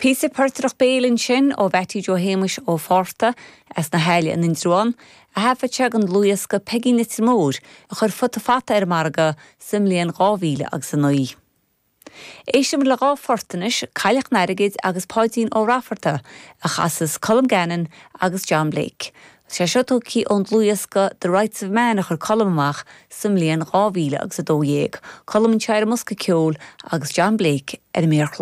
Píosa portaireacht béil ansin ó Mhattie Joe Shéamuis Ó Fátharta as na hAille in Indreabhán, a thaifead sé don dlúthdhiosca Peigí an Leitir Móir a chuir Futa Fata ar an margadh sa mbliain 2000 agus 9. Éistfimid le dhá phort anois, Cailleach an Airgid agus Páidín Ó Raifeartaigh, a chasas Colm Gannon agus John Blake. Tá sé seo tógtha ón dlúthdhiosca The Rights of Man a chuir Colm amach sa mbliain 2000 agus 12. Colm anseo ar an mbosca ceoil agus John Blake ar an méarchlár.